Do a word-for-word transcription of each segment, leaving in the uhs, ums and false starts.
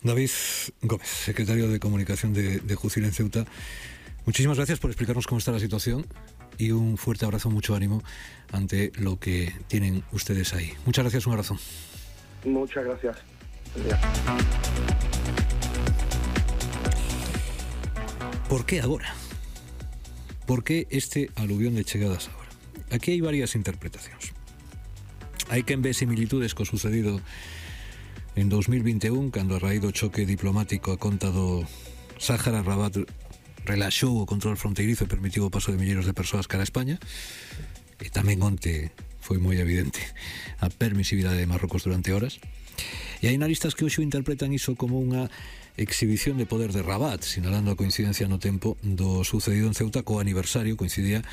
David Gómez, secretario de Comunicación de, de Jucil en Ceuta, muchísimas gracias por explicarnos cómo está la situación y un fuerte abrazo, mucho ánimo ante lo que tienen ustedes ahí. Muchas gracias, un abrazo. Muchas gracias. Por que agora? Por que este aluvión de chegadas agora? Aquí hai varias interpretacións. Hai quen ve similitudes co sucedido en dos mil vinte e un, cando a raíz do choque diplomático a conta do Sáhara, Rabat relaxou o control fronteirizo e permitiu o paso de milleiros de persoas cara a España, e tamén onte foi moi evidente a permisividade de Marrocos durante horas. E hai analistas que hoxe interpretan iso como unha exhibición de poder de Rabat, sinalando a coincidencia no tempo do sucedido en Ceuta co aniversario, coincidía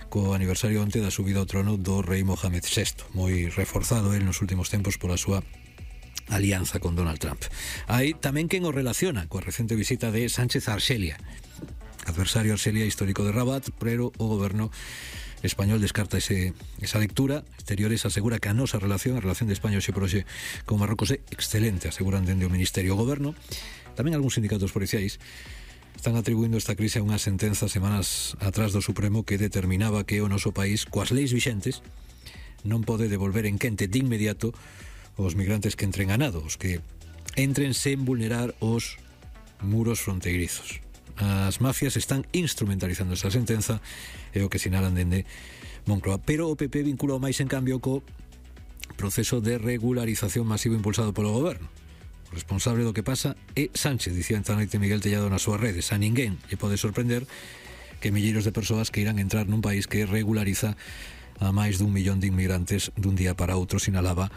co aniversario onte da subida ao trono do rei Mohamed sexto, moi reforzado el nos últimos tempos pola súa alianza con Donald Trump. Hai tamén quen o relaciona coa recente visita de Sánchez a Arxelia, adversario Arxelia histórico de Rabat, pero o goberno español descarta ese, esa lectura. Exteriores asegura que a nosa relación, a relación de España hoxe por hoxe con Marrocos, é excelente, aseguran dende o Ministerio. O goberno, tamén algúns sindicatos policiais, están atribuindo esta crise a unha sentenza semanas atrás do Supremo que determinaba que o noso país, coas leis vixentes, non pode devolver en quente de inmediato os migrantes que entren a nado, os que entren sen vulnerar os muros fronteirizos. As mafias están instrumentalizando esa sentenza, é o que sinalan dende Moncloa, pero o P P vinculou máis en cambio co proceso de regularización masivo impulsado polo goberno. O responsable do que pasa é Sánchez, dicía esta noite Miguel Tellado nas súas redes. A ninguén lle pode sorprender que milleiros de persoas que irán entrar nun país que regulariza a máis dun millón de inmigrantes dun día para outro, sinalaba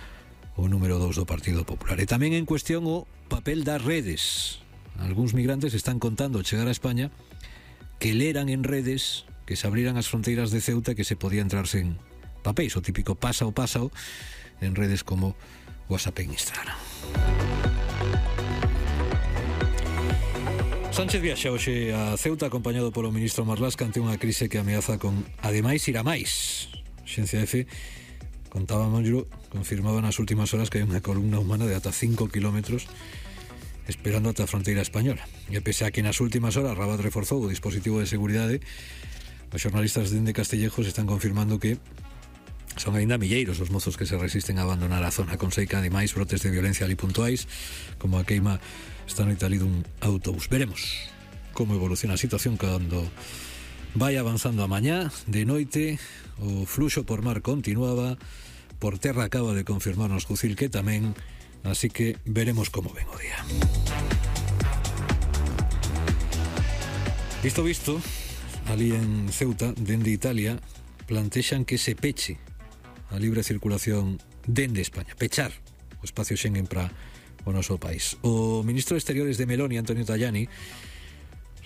o número dous do Partido Popular. E tamén en cuestión o papel das redes. Algúns migrantes están contando ao chegar a España que leran en redes que se abriran as fronteiras de Ceuta, que se podía entrar sen papéis, o típico pasa o pasa en redes como WhatsApp e Instagram. Sánchez viaxa hoxe a Ceuta acompañado polo ministro Marlaska ante unha crise que ameaza con, ademais, ir a máis. Xencia F contaba Manjuro, confirmaba nas últimas horas que hai unha columna humana de ata cinco kilómetros esperando ata a fronteira española. E pese a que nas últimas horas Rabat reforzou o dispositivo de seguridade, os xornalistas dende Castillejos están confirmando que son aínda milleiros os mozos que se resisten a abandonar a zona, con seica ademais brotes de violencia ali puntuais, como a queima esta noite ali dun autobús. Veremos como evoluciona a situación cando vai avanzando a mañá. De noite o fluxo por mar continuaba, por terra acaba de confirmarnos Jucil que tamén, así que veremos como ven o día. Visto visto, ali en Ceuta, dende Italia, plantexan que se peche a libre circulación dende España, pechar o espacio Schengen para o noso país. O ministro de Exteriores de Meloni, Antonio Tajani,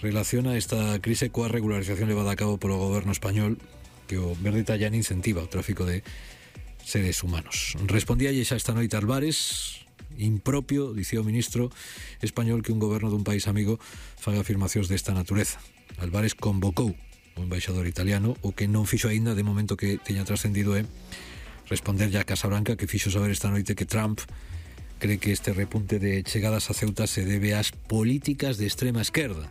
relaciona esta crise coa regularización levada a cabo polo goberno español, que o verde Tajani incentiva o tráfico de seres humanos. Respondíalle xa esta noite Álvarez, impropio, dicía o ministro español, que un goberno dun país amigo faga afirmacións desta natureza. Álvarez convocou o embaixador italiano, o que non fixo aínda de momento que teña trascendido é responderlle a Casa Branca, que fixo saber esta noite que Trump cree que este repunte de chegadas a Ceuta se debe ás políticas de extrema esquerda.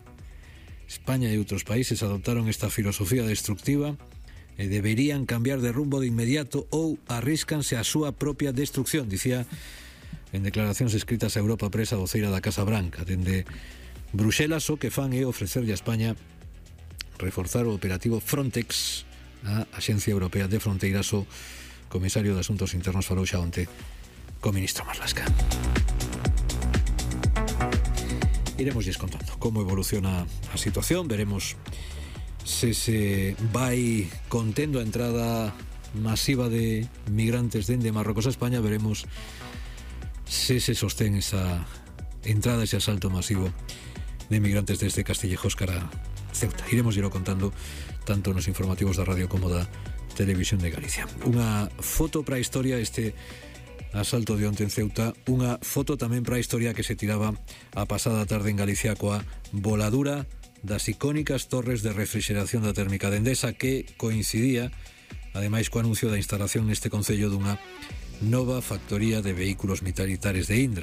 España e outros países adoptaron esta filosofía destructiva e deberían cambiar de rumbo de inmediato ou arríscanse a súa propia destrucción, dicía en declaracións escritas a Europa Press a voceira da Casa Branca. Dende Bruxelas o que fan é ofrecerlle a España reforzar o operativo Frontex, a Axencia Europea de Fronteiras. O comisario de Asuntos Internos falou xa onte co ministro Marlaska. Iremos lles contando como evoluciona a situación, veremos se se vai contendo a entrada masiva de migrantes dende Marrocos a España, veremos se se sostén esa entrada, ese asalto masivo de migrantes desde Castillejos cara a Ceuta. Iremos irlo contando tanto nos informativos da radio como da Televisión de Galicia. Unha foto para a historia este asalto de onte en Ceuta, unha foto tamén para a historia que se tiraba a pasada tarde en Galicia coa voladura das icónicas torres de refrigeración da térmica de Endesa, que coincidía ademais co anuncio da instalación neste concello dunha nova factoría de vehículos militares de Indra.